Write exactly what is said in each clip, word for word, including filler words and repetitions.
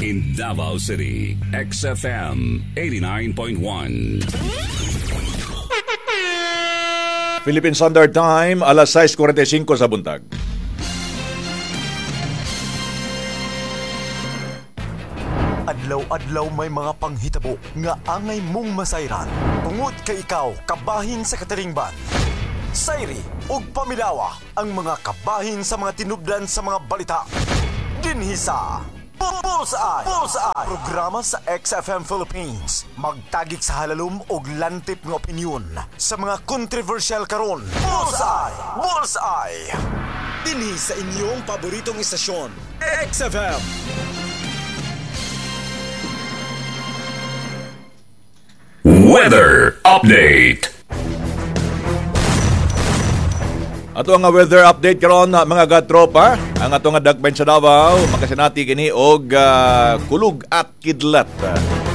In Davao City, X F M eighty-nine point one. Philippine Standard Time, alas sais kuwarenta y singko sa buntag. Adlaw-adlaw may mga panghitabo nga angay mong masayran. Tungod kay ikaw kabahin sa katilingban. Sayri ug pamilawa ang mga kabahin sa mga tinubdan sa mga balita. Dinhi sa Bullseye! Bullseye! Programa sa X F M Philippines. Magtagik sa halalom og lantip nga opinyon sa mga kontrobersyal karon. Bullseye! Bullseye! Dinhi sa inyong paboritong istasyon, X F M. Weather Update. Ato ang weather update karon mga katropa. Ang ato nga dagbayan sa Davao makasinati kini og uh, kulog at kidlat.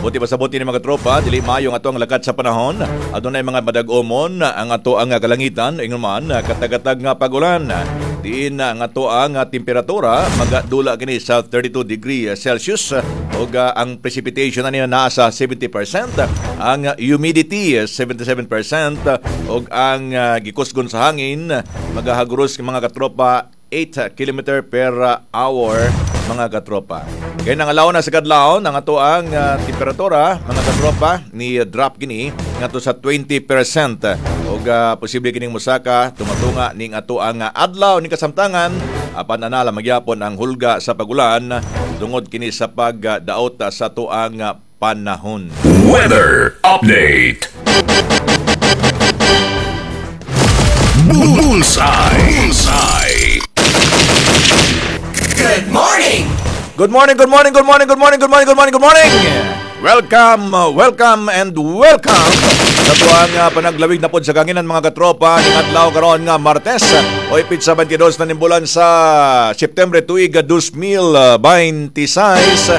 Buti pa sa buti ni mga tropa, dili maayo ang ato ang lakat sa panahon. Adunay mga madag-omon ang ato ang kalangitan, ingon man katagatag nga pagulan. Diin ang ato ang temperatura magadula kini sa thirty-two degrees Celsius ug uh, ang precipitation ani naa sa seventy percent, ang humidity seventy-seven percent ug ang uh, gikusgon sa hangin magahaguros mga katropa eight kilometer per hour mga katropa. Kaya nangalaw na sa kadlawon ang ato ang uh, temperatura mga katropa ni uh, drop kini ngadto sa twenty percent ug uh, posible kining mosaka tumatunga ning ato ang uh, adlaw ning kasamtangan apan anala magyapon ang hulga sa pagulan tungod kini sa pagdaot uh, sa ato ang uh, panahon. Weather Update. Bullseye. Bullseye. Good morning. Good morning, good morning, good morning, good morning, good morning, good morning, good morning. Welcome, welcome, and welcome sa tuwang uh, panaglawig na pod sa kanginan mga katropa ning adlaw karon nga Martes o pitsa twenty-two na nimbulan sa September tuig dos mil twenty-six.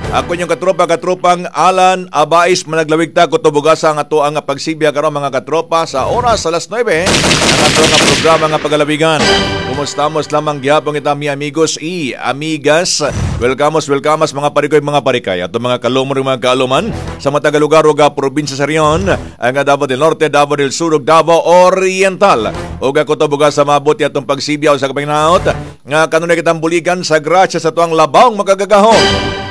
Ako inyong katropa, katropang Alan Abais, managlawig ta kutubugasa ang ato ang pagsibya karon mga katropa sa oras alas nuwebe ang ato nga programa nga pagalawigan. Kumustamos lamang gihapon kita mi amigos y amigas. Welcomos, welcomos mga parikoy, mga parikay ato mga kalumor, mga kaaluman sa matag lugar ug probinsya sa rehiyon, ang Davao del Norte, Davao del Sur ug Davao Oriental. Ug kutubugasa mabuti atong pagsibya sa kapanginaot nga kanunay kitang buligan sa grasya sa tuang labawng makagagahom.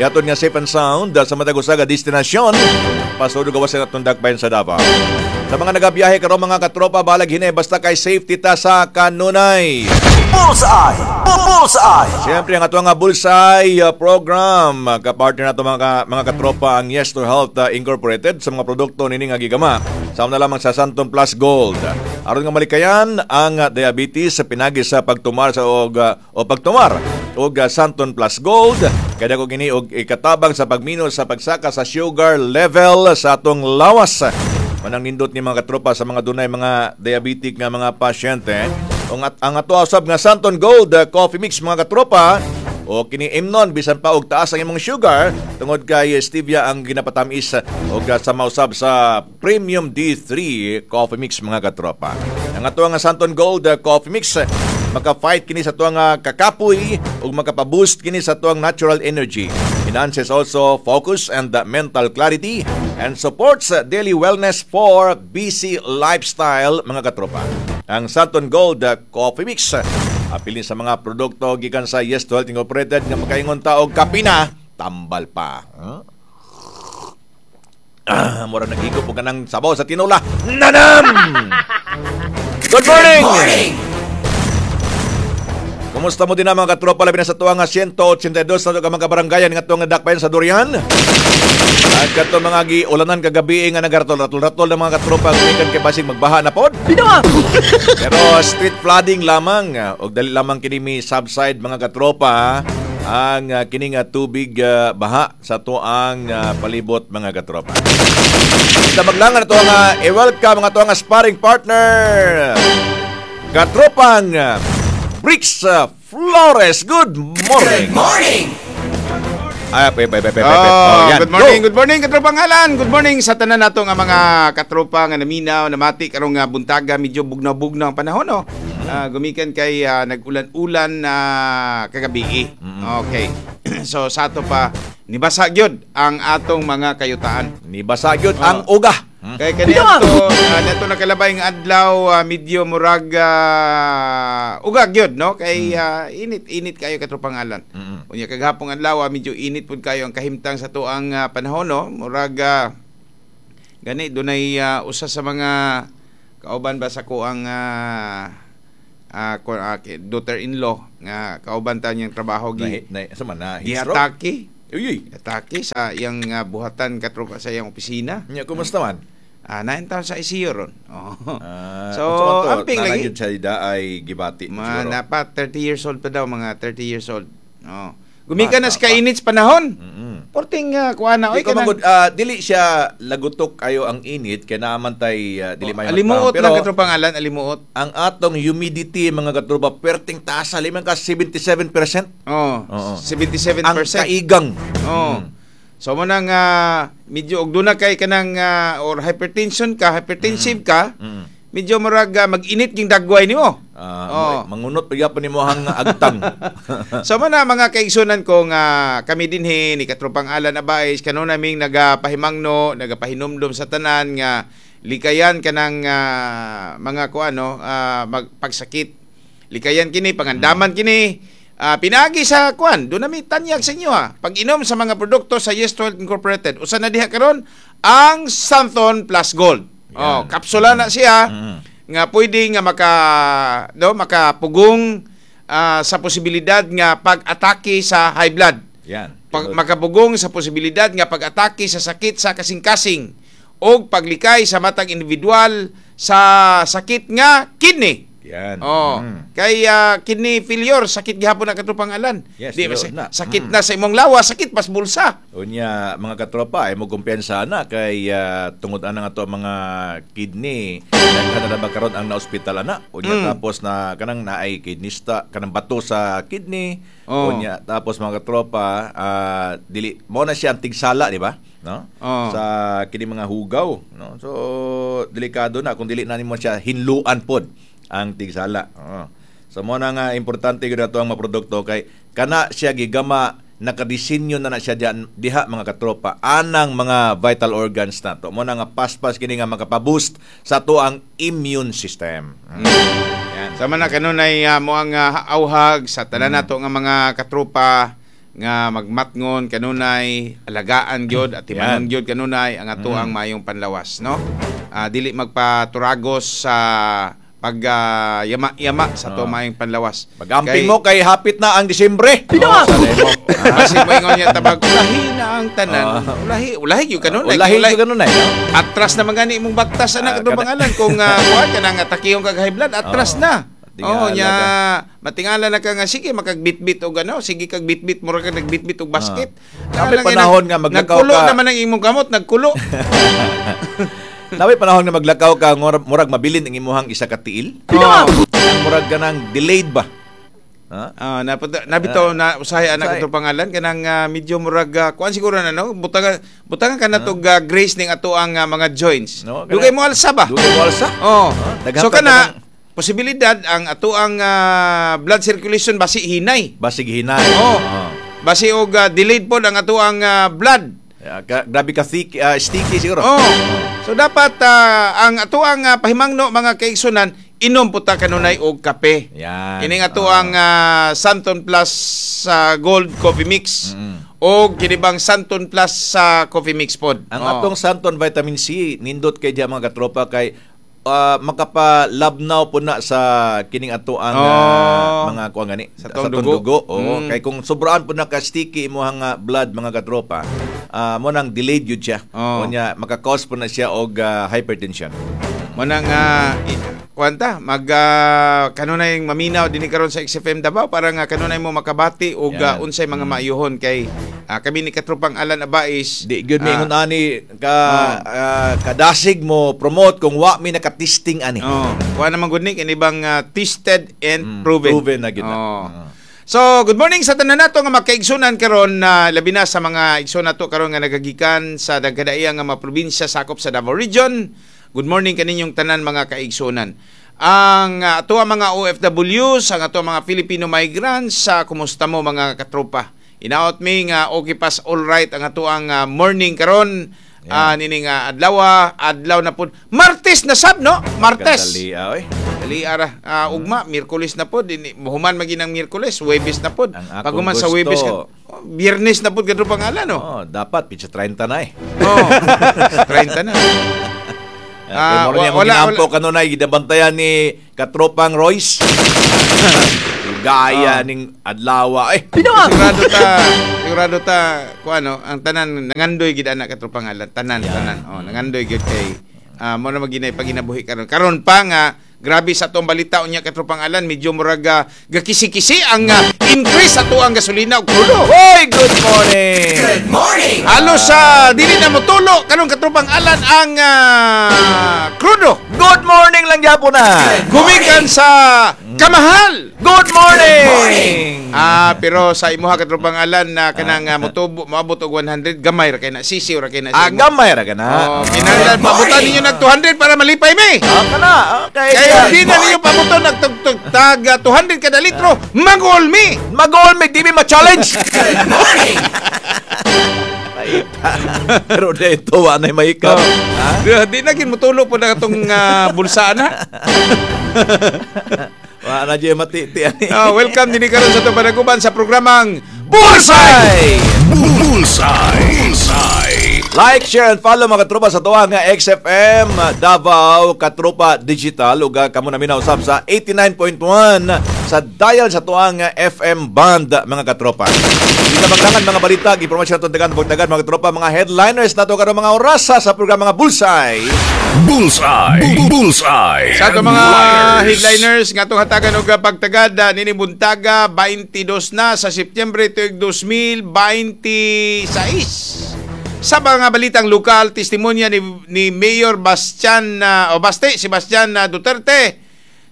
Yaton nga safe and sound sa matag usa ka destinasyon pasod gawas sa atong dakbayan sa Davao. Sa mga nagabiyahe karon mga katropa, balag hinay basta kay safety ta sa kanunay. Bullseye! Bullseye! Siyempre ang ato nga Bullseye program, kapartner nato mga mga katropa ang Yes to Health Incorporated sa mga produkto nini nga gigama. Sama na lamang sa Santon Plus Gold. Aron nga malikayan ang diabetes sa pinagi sa pagtumar sa og o pagtumar og Santon Plus Gold. Kada ko kini og ikatabang sa pagmino sa pagsaka sa sugar level sa atong lawas. Manang nindot ni mga katropa sa mga dunay mga diabetic nga mga pasyente. Ang at ang ato usab nga Santon Gold Coffee Mix mga katropa o kini imnon bisan pa og taas ang imong sugar tungod kay stevia ang ginapatamis og sa mausab sa Premium D three Coffee Mix mga katropa. Ang ato nga Santon Gold Coffee Mix maka-fight kini sa tuang kakapoy ug makapa-boost kini sa tuang natural energy. Enhances also focus and mental clarity and supports daily wellness for busy lifestyle mga katropa. Ang Santon Gold Coffee Mix apilin sa mga produkto gikan sa Yes to Health Incorporated nga makaingon ta og kapina tambal pa. Huh? Ah, mura nagigop og kanang sabaw sa tinola. Nanam! Good morning! Good morning! Kumusta mo din na mga katropa labi na sa tuwa nga one eighty-two na mga kabaranggayan nga tuwa nga dakbayan sa Durian? At kato mga giulanan kagabi nga nagaratol-ratol-ratol na mga katropa gumikan kay basig magbaha na pod. Pero street flooding lamang og dali lamang kini mi subside mga katropa ang uh, kini nga tubig uh, baha sa tuang uh, palibot mga katropa. Sa maglangan ato nga i-welcome ang ato nga sparring partner katropang uh, Bricks uh, Flores. Good morning. Good morning. Ay, pe, pe, pe, pe, pe. Oh, Oh, yan. good morning, Go. good morning katropang Alan. Good morning sa tanan nato nga mga katropa nga naminaw, namati karong nga buntaga, medyo bugnaw-bugnaw ang panahon no. Uh, gumikan kay uh, nag-ulan-ulan na uh, kagabi. Mm-hmm. Okay. So sa ato pa nibasa gyud ang atong mga kayutaan. Nibasa gyud Oh. ang uga. Hmm. Kay kaniadto uh, nato nakalabay nga adlaw, ah, medyo murag uh, uga gyud, no, kay ah, init-init kayo, katropang Alan. Mm-mm. Unya kagahapon adlaw, ah, medyo init pud kayo ang kahimtang sa tuang ah, panahon, no. Murag ah, gani dunay ah, usa sa mga kauban ba sa kuang uh, uh, daughter-in-law nga kauban ta niyang trabaho gi Na, na, sa man na heat stroke? giatake. Uy, uy. Atake sa iyang ah, buhatan, katropa, sa iyang opisina. Nya, kumusta man? Ah, nain taon sa I C U ron. Oh. Ah, So, unsa man to? amping Naa lagi. gyud siya da ay gibati Mga siguro. napa thirty years old pa daw, mga thirty years old. Oh. Gumikan na Bata sa kainit sa panahon. Mm-mm. Porting uh, kuha na Di oy ko kanang magud ah, dili siya lagutok ayo ang init kay naaman tay ah, dili mayo Alimuot Pero lang, katropang Alan, alimuot. Ang atong humidity, mga katropa, perting taas, liman ka seventy-seven percent. Oh, Oo. seventy-seven percent. Ang kaigang. Oh. Mm. So mo nang uh, medyo og duna kay kanang ah, or hypertension ka, hypertensive ka, Mm. medyo murag ah, mag-init ging dagway nimo. Ah, Oh. mangunot pa gyapon nimo ang agtang. So mo na, mga kaigsunan ko, nga kami dinhi ni katropang Alan Abais kano naming nagapahimangno, nagapahinumdom sa tanan nga likayan kanang ah, mga kuano uh, magpagsakit. Likayan kini, pangandaman kini. Ah, pinaagi sa kuan, do nami tanyag sa inyo ha. Pag-inom sa mga produkto sa Yes to Health Incorporated. Usa na diha karon ang Xanthone Plus Gold. Oh, Yan. kapsula na siya Mm. nga pwede nga maka no makapugong ah, sa posibilidad nga pag-atake sa high blood. Yan. Pag, makapugong sa posibilidad nga pag-atake sa sakit sa kasing-kasing o paglikay sa matag individual sa sakit nga kidney. Yan. Oh, Mm. kay ah, kidney failure, sakit gihapon na, katropang Alan. Yes, Di ba tinuod na. sakit Mm. na sa imong lawas, sakit pas bulsa. Unya, mga katropa, ay mo kumpiyansa na kay ah, tungod ana nga to ang mga kidney daghan na ba karon ang na-ospital ana. Unya Mm. tapos na kanang naay kidney sta kanang bato sa kidney. Oh. Unya tapos, mga katropa, ah, dili mo na siya ang tigsala, di ba? No? Oh. Sa kini mga hugaw, no? So delikado na kung dili na nimo siya hinluan pod ang tigsala. Oo. So mo na nga importante gyud ato ang mga produkto kay kana siya gigama, nakadisenyo na na siya diyan diha, mga katropa, anang mga vital organs nato. Mo na nga paspas kini nga makapaboost sa ato ang immune system. Mm. Yan. Sama na kanunay uh, mo ang ah, auhag sa tanan nato nga mga katropa nga magmatngon kanunay, alagaan gyud at timanon Yan. gyud kanunay ang ato ang maayong panlawas, no. Ah, dili magpaturagos sa pag ah, yama-yama sa ato Ah. maayong panlawas. Magamping mo kay hapit na ang Disyembre. Oh, basig mo niya tabag ulahi na ang tanan. Ulahi, ulahi gyud kanunay. Ulahi gyud kanunay, no? Atras na man gani imong baktas anak Ah, uh, kana- pangalan kung uh, kuan ka na nga takiyong kag high blood, atras Oo. na. Tingala Oh, nya ka. matingala na ka nga sige makagbitbit og ano, sige kag bitbit, mura ka nagbitbit og basket. Ah. Napay Lang, panahon nag- nga maglakaw nagkulo ka. naman ang imong kamot, nagkulo. Naway panahon nga maglakaw ka, murag, murag mabilin ang imuhang isa ka tiil. Oh. Murag ka nang delayed ba? Ha? Ah, napata nabitaw na usahay anak Usahay. ato pangalan kanang ah, medyo murag uh, kuan siguro na, no, butangan butangan ka na tog ah, grace ning ato ang ah, mga joints. No, kana- Dugay mo alsa ba? Dugay mo alsa? Oh. Ah, daghan So pa kana kanang- posibilidad ang ato ang ah, blood circulation basi hinay. Basig hinay. Oh. Oo. Basi og ah, delayed pod ang ato ang ah, blood. Ah, ka- grabe ka thick, ah, sticky siguro. Oh. So dapat ah, ang ato ang ah, pahimangno, mga kaigsunan, inom puta kanunay og kape. Yan. Kining ato Oo. ang ah, Santon Plus sa Gold Coffee Mix Mm. o kini bang Santon Plus sa Coffee Mix pod. Ang Oh. atong Santon Vitamin C nindot kay diya, mga katropa, kay ah, makapalabnaw po na sa kining ato ang ah, Oh. mga kuan gani Sa atong dugo. Oo, Mm. kay kung sobraan po na ka sticky imong ah, blood, mga katropa, ah, mo nang delayed yun siya. Oh. Unya maka-cause po na siya og ah, hypertension. Mo nang uh, kuanta mag ah, kanunay maminaw dinhi karon sa X F M Davao para nga kanunay mo makabati og Yan. ah, unsay mga maayuhon kay ah, kami ni katropang Alan Abais. Di gyud ah, mi ingon ani ka ah, kadasig mo promote kung wa mi nakatesting ani. Oh, kuha naman gud ni kini bang ah, tested and Mm, proven. proven na gyud na. Oh. Mm. So, good morning sa tanan nato nga makaigsunan karon na labi na sa mga igsoon nato karon nga nagagikan sa dagkadaiyang nga mga probinsya sakop sa Davao Region. Good morning kaninyong tanan, mga kaigsunan. Ang uh, ato ang mga O F Ws, ang ato ang mga Filipino migrants, sa kumusta mo, mga katropa? Inaot mi nga okay pas all right ang atoang ah, morning karon. Ah, nining uh, adlaw, adlaw na pud. Martes na sab, no? Martes. Kadali, ah, oy. Dali ara. Ah, ugma Miyerkules na pod. Ini human maginang Miyerkules, Huwebes na pod. Ang akong Pag human sa gusto. Huwebes ka, oh, Biyernes na pod kadto pangalan, no. Oh, dapat pitsa trenta na eh. Oh. trenta na. Ah, Ah, uh, wala, wa- wala, wala, kanunay gidabantayan ni katropang Royce. Gaya Ah. ning adlawa eh. Sigurado ta, sigurado ta ku ano, ang tanan nangandoy gid ana katro pangalan, tanan tanan. Oh, nangandoy gid kay ah, mo na maginay paginabuhi karon. Karon pa nga grabe sa atong balita unya katro pangalan, medyo murag ah, gakisi-kisi ang ah, increase sa tuang gasolina ug krudo. Hoy, good morning. Halos sa dili na motulo karon katropang alan ang ah, krudo. Good morning lang gyapon na. Gumikan sa kamahal. Good morning. Ah, pero sa imuha katropang alan na kanang uh, motubo moabot og one hundred, gamay ra kay na, sisiw ra kay na sa Ah, imo. gamay ra ka na. Oh, kinahanglan pabutan ninyo nag two hundred para malipay mi. Ah, kana. Okay. Kaya di na ninyo pabuton nag tug tug tag ah, two hundred kada litro, magol mi. Mag-all may di mi ma-challenge. Pero dito wa na mahikap. Oh. Di, di na gin motulo po na atong ah, bulsa na. Wa na jud matiti ani. Oh, welcome dinhi karon sa atong panaguban sa programang Bullseye! Bullseye. Bullseye. Like, share, and follow mga katropa sa tuwa nga X F M Davao Katropa Digital ug ah, kamo na minausap sa eighty-nine point one sa dial sa tuwa nga F M band, mga katropa. Di na maglangan mga balita, impormasyon atong tagan pagtagan mga katropa, mga headliners nato karon mga orasa sa programa nga Bullseye. Bullseye. Bullseye. Sa atong mga Headliners. Headliners nga atong hatagan og pagtagad ah, nini buntaga twenty-two na sa Setyembre tuig twenty twenty-six. Sa mga balitang lokal, testimonya ni, ni Mayor Bastian ah, o Baste Sebastian ah, Duterte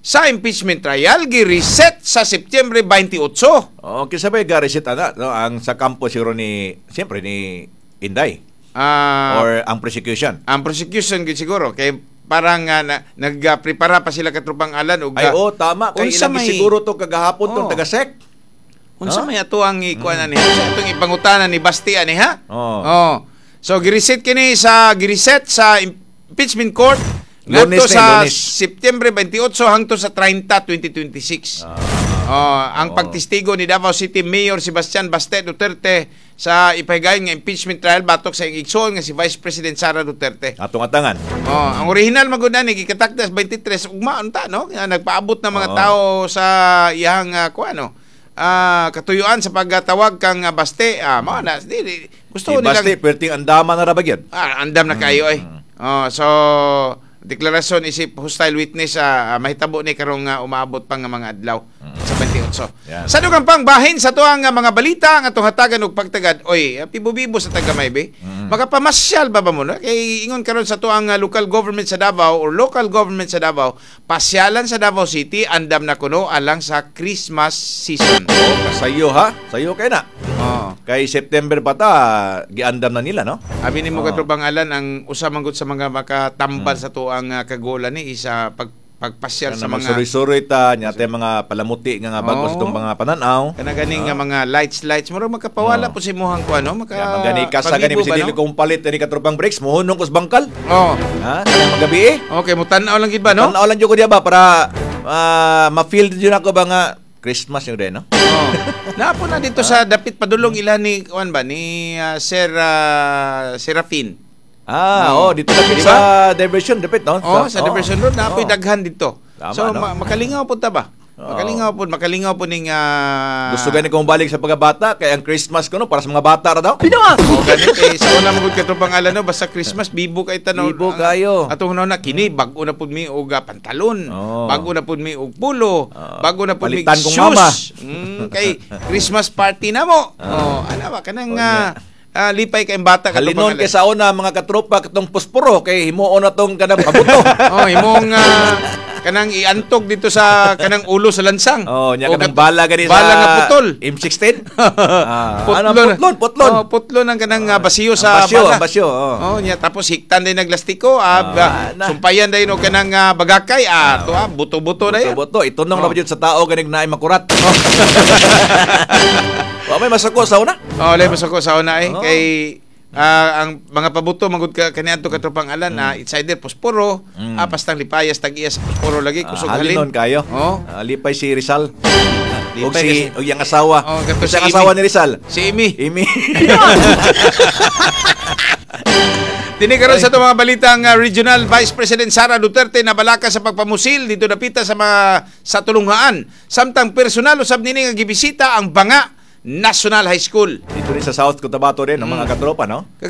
sa impeachment trial gi-reset sa Setyembre twenty-eight. Oh, kinsa bay ga-reset ana, no? Ang sa kampo siguro ni siyempre ni Inday Ah, or ang prosecution. Ang prosecution gid siguro kay parang uh, na, nagprepara pa sila katropang alan og Ay oh, tama kay Unsa ilang may- siguro to kagahapon tong Oh. taga-S E C. Unsa Huh? may ato ang ikuan ani? Unsa atong ipangutana ni Basti ani ha? Oo. Oh. So gireset kini sa gireset sa impeachment court Lunes ngadto na sa yun, Lunes. September twenty-eight hangtod sa thirty, twenty twenty-six. Ah. Oh, ang pagtestigo ni Davao City Mayor Sebastian Baste Duterte sa ipahigayon nga impeachment trial batok sa iyang igsoon nga si Vice President Sara Duterte. Atong atangan. Oh, ang original magud ni gikatakdas twenty-three ugma unta, no? Nga nagpaabot ng mga Oo. tao sa iyang uh, kuano. Ah, katuyuan sa pagtawag kang ah, Baste, ah, mao na di, di, gusto Si nilang Baste perting andama na ra ba gyud? ah, andam na kayo ay. Oh, so deklarasyon isip hostile witness ah, ah, mahitabo ni karong ah, umaabot pa nga mga adlaw sa twenty-eight. Yan. Sa dugang pang bahin sa tuang ah, mga balita ang atong hatagan og pagtagad, oy, ah, pibo-bibo sa tagamay be. Makapamasyal ba ba mo, no? Kay ingon karon sa tuang ah, local government sa Davao or local government sa Davao, pasyalan sa Davao City andam na kuno alang sa Christmas season. Oh, sayo ha. Sayo kay na. Oh. Kay September pa ta giandam na nila, no? Abi nimo Oo. katropang alan, ang usa man gud sa mga makatambal sa tuang uh, kagola ni isa pag pagpasyal sa Sa mga mga suroy ta nya tay mga palamuti nga nga bago sa Oo. itong mga pananaw. Kana ganing nga mga lights lights murag makapawala Oo. po si muhang ko ano maka Ya, magani ka sa gani pabibo bisin ba, dili no? kong palit ni katropang breaks mohunong kus bangkal. Oh. Ha? Kanang magabi eh. Okay, mo tan-aw lang gid ba, no? Tan-aw lang jud ko diya ba para ah, ma-feel jud ako ba nga Christmas yung din, no? Oh. Naapo na dito sa dapit padulong ila ni kuan ba ni ah, Sir ah, Serafin. Ah, oh, dito dapit Di sa diversion dapit, no? Oh, sa Diversion Road naapoy oh. daghan dito. Tama, So no? ma- makalingaw pud ta ba? Oo. Makalingaw pud, makalingaw pud ning ah, Gusto gani kong balik sa pagkabata kay ang Christmas ko no para sa mga bata ra daw. Oh, ganit eh sa una magud katong pangalan, no, basta Christmas bibo kay tanaw. Bibo kayo. Atong una kini bag-o na pud mi og ah, pantalon, Oo. bago na pud mi og pulo, Oo. bago na pud mi Palitan kong shoes. mama. Mm, kay Christmas party na mo. Oh, ana ba kanang Oh, ah, ah, lipay kay bata katong Halinon pangalan. kay sa una mga katropa katong posporo kay himuon na tong kanang pabuto. Oh, imong ah, kanang iantog dito sa kanang ulo sa lansang. Oh, nya O kanang kat- bala gani sa bala nga putol. M sixteen. Ah, ano, Putlon. putlon, putlon. Oh, putlon ang kanang ah, basiyo Ang sa basyo, bala. ang basyo, oh. Oh, nya tapos hiktan din naglastiko, ah, Ah, ba- na. sumpayan din og kanang ah, bagakay, ah, to ah, buto-buto na yan. Buto, buto. Itunong Oh. na ba jud sa tao ganig naay makurat. Wa may masuko sa una. Oh, walay masuko sa una eh. Oo. Kay ah, ang mga pabuto magud ka kaniadto, katropang Alan, mm. it's either posporo, Mm. mm. pastang lipayas tag-iya sa posporo lagi Ah, kusog halinon halin. kayo. Oh. Ah, lipay si Rizal. Og Lipay si kasi- og iyang asawa. Oh, kato Kasi si ang asawa Amy. ni Rizal. Si Amy. Amy. Dini karon sa atong mga balitang ah, regional, Vice President Sara Duterte nabalaka sa pagpamusil dito dapita sa mga sa tulunghaan. Samtang personal usab nini nga gibisita ang Banga National High School. Dito rin sa South Cotabato rin, ang mga katropa, no? Kag